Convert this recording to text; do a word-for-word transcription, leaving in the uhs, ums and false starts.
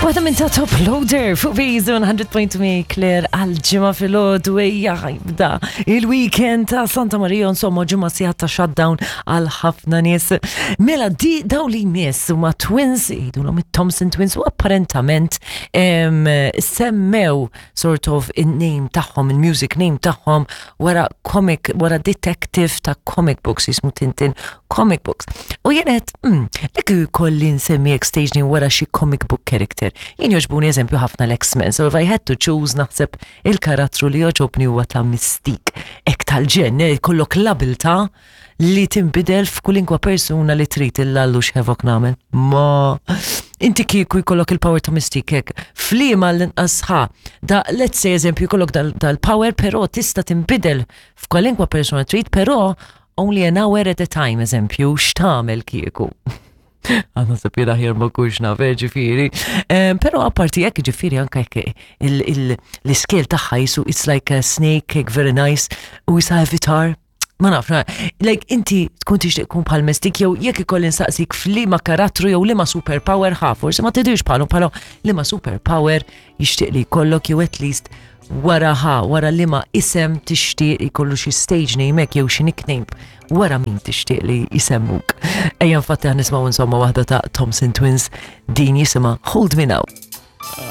Waħda minn ta' Top Loader fuq Bizon mija punt tmienja, Claire, għal-Ġimgħa filgħodu. Ejja, jibda il-weekend ta' Santa Maria, insomma ġimgħa sħiħa ta' shutdown għal ħafna nies. Mela di daw li jmiss huma twins, jgħidulhom it-Thompson Twins, u apparentament em, semmew sort of in-name tagħhom, il-music name tagħhom wara comic, wara detective ta' comic books jismu Tintin Comic Books. U jenet, mm, li kelli nsemmi stage name wara xi comic book character. Jien joġbuni eżempju ħafna l-X-Men, so if I had to choose, naħseb il-karattru li joġobni huwa ta' Mystique. Ek tal-ġen, eh, kollok l-abilta li tinbidel f'kulinkwa persuna li trid, illallu x'hevok nagħmel. Ma inti kieku jkollok il-power ta' Mystique hekk, f'liema l-inqas ħa, da let's say eżempju jkollok dal-power, però tista' tinbidel f'kwalinkwa persuna trid, però only an hour at a time, eżempju, x'tagħmel kieku? Għanna sapira ħjar ma kux naf, eh, ġifieri. Però apparti jekk, ġifieri anka jekk l-scale tagħha jisu it's like a snake, hekk very nice, u jisa avatar. Ma naf, na, like inti tkun tixtieq tkun bħal Mystique, jew jekk ikolli nsaqsik f'liema karattru jew liema superpower ħa, forsi ma tidirx bħalu, bħalu liema superpower jixtieq li jkollok, jew at least wara ħa, wara liema isem tixtieq jkollu xi stage name hekk jew xi nickname, wara min tixtieq li jisemmuk. Ejja, infatti ħa nisimgħu insomma waħda ta' Thompson Twins, din jisimha Hold Me Now.